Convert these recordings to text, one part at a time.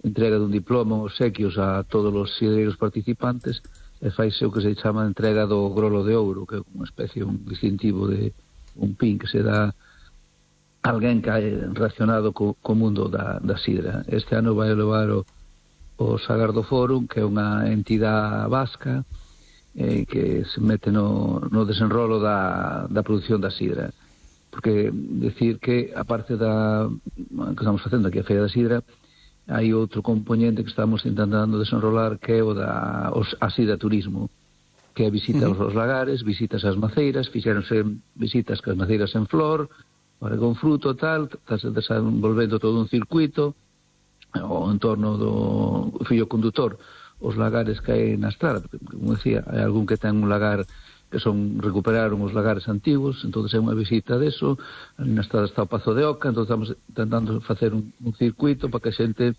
entrega dun diploma, obsequios a todos os sidreiros participantes, e faise o que se chama entrega do grolo de ouro, que é unha especie, un distintivo de un pin que se dá a alguén que hai relacionado co mundo da sidra. Este ano vai levar o Sagardo Forum, que é unha entidade vasca que se mete no desenrolo da produción da sidra. Porque decir que, aparte da que estamos facendo aquí a Feira da Sidra, hai outro componente que estamos intentando desenrolar, que é o da sidra turismo, que é visita aos lagares, visitas ás maceiras, fixéronse visitas cas maceiras en flor, con fruto, tal, estás desenvolvendo todo un circuito o en torno do fío condutor, os lagares que hai na estrada, porque, como decía, hai algún que ten un lagar que recuperaron os lagares antigos, entón é unha visita deso. Na estrada está o Pazo de Oca, entón estamos intentando facer un circuito para que a xente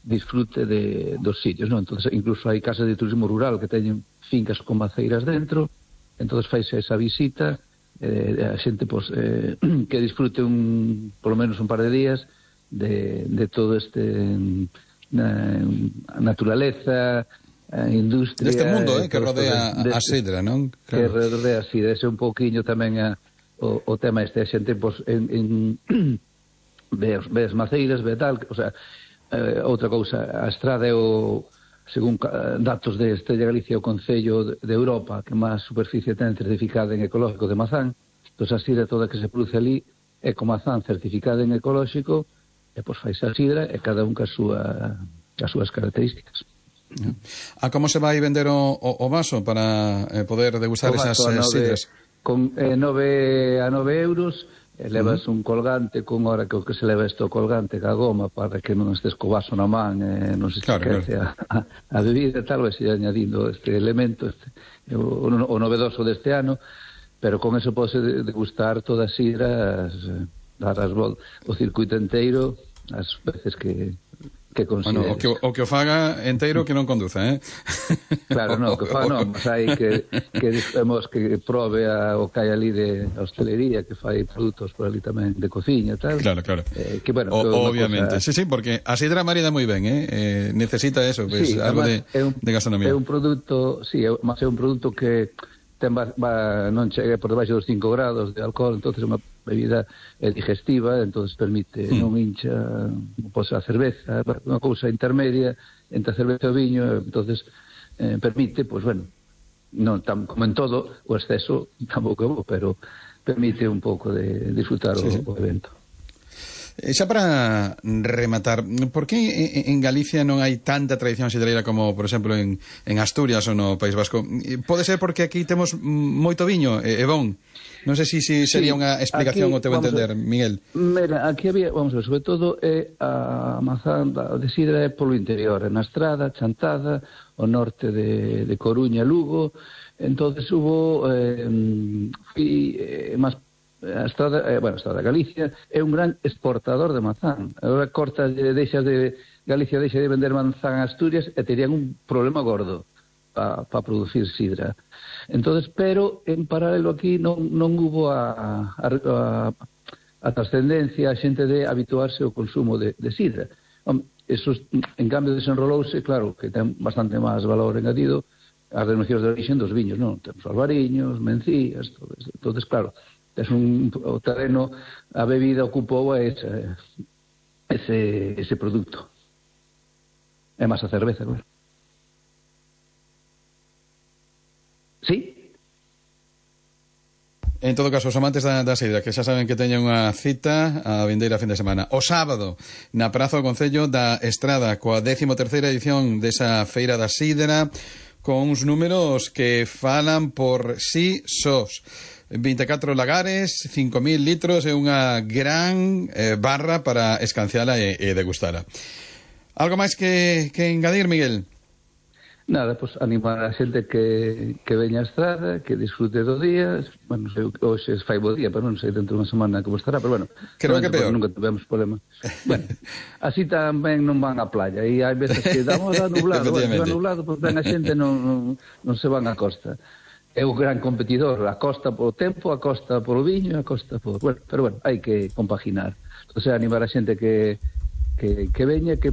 disfrute dos sitios, non? Entón, incluso hai casas de turismo rural que teñen fincas con maceiras dentro, entón faise esa visita, a xente que disfrute polo menos un par de días de todo este naturaleza, a industria deste mundo que rodea a sidra, non? Claro. Que rodea a sidra, ese un pouquiño tamén o tema este, a xente ve as maceiras, ve tal, o sea, outra cousa, a estrada é según datos de Estrella Galicia, o Concello de Europa que máis superficie ten certificada en ecológico de mazán. Entón a sidra toda que se produce ali é con mazán certificada en ecológico, e pois faise a sidra e cada un cas súas características. Como se vai vender o vaso para poder degustar esas sidras? Con 9 euros, levas un colgante con hora que se leva isto colgante ca goma para que non estés co vaso na man, non se esquece a bebida e tal, vai ser añadindo este elemento, o novedoso deste ano, pero con eso pode degustar toda a sidra, dar o circuito inteiro as veces que considere. Bueno, o que o faga enteiro que non conduza, Claro, non, que faga non, mas hai que probe o que hai ali de hostelería, que fai produtos por ali tamén de cociña e tal. Claro. Que, bueno, obviamente, sí, porque a sidra marida moi ben, necesita eso, pues, sí, algo de gastronomía. É un produto, sí, mas é un produto que non chega por debaixo dos 5 grados de alcohol, entonces é unha bebida digestiva, entonces permite non hincha, pois a cerveza, unha cousa intermedia entre a cerveza e o viño, entonces permite, pois bueno, non como en todo, o exceso tampouco é bo, pero permite un pouco de disfrutar o evento. Xa para rematar, por que en Galicia non hai tanta tradición sidreira como, por exemplo, en Asturias ou no País Vasco? Pode ser porque aquí temos moito viño, é bon? Non sei se sería unha explicación ao teu entender, Miguel. Mira, aquí había, vamos a ver, sobre todo a mazán de sidra é polo interior, na Estrada, Chantada, o norte de Coruña, Lugo, entonces hubo máis a Estrada de Galicia é un gran exportador de mazán. Agora Galicia deixa de vender manzán a Asturias e terían un problema gordo para producir sidra. Entonces, pero en paralelo aquí non hubo a trascendencia, a xente de habituarse ao consumo de sidra. Eso, en cambio, desenrolouse, claro, que ten bastante máis valor engadido as denominacións de origen dos viños, non? Temos albariños, mencías, todo eso. Entonces, claro, o terreno, a bebida ocupou ese produto. É máis a cerveza, claro. Sí? En todo caso, os amantes da sidra, que xa saben que teñen unha cita a vindeira fin de semana. O sábado, na Praza do Concello da Estrada, coa 13ª edición desa Feira da Sidra, con uns números que falan por sí sós. 24 lagares, 5.000 litros e unha gran barra para escanciala e degustala. Algo máis que engadir, Miguel? Nada, pues animar a xente que veña a Estrada, que disfrute do día. Bueno, non sei, hoxe fai bo día, pero non sei dentro de unha semana como estará, pero bueno, creo que peor. Nunca tivemos problema. Bueno, así tamén non van á playa, e hai veces que damos a nublado, se va nublado, pues ven a xente non se van á costa. É un gran competidor, a costa polo tempo, a costa polo viño, a costa por... Bueno, pero bueno, hai que compaginar. Entonces, animar a xente que veña, que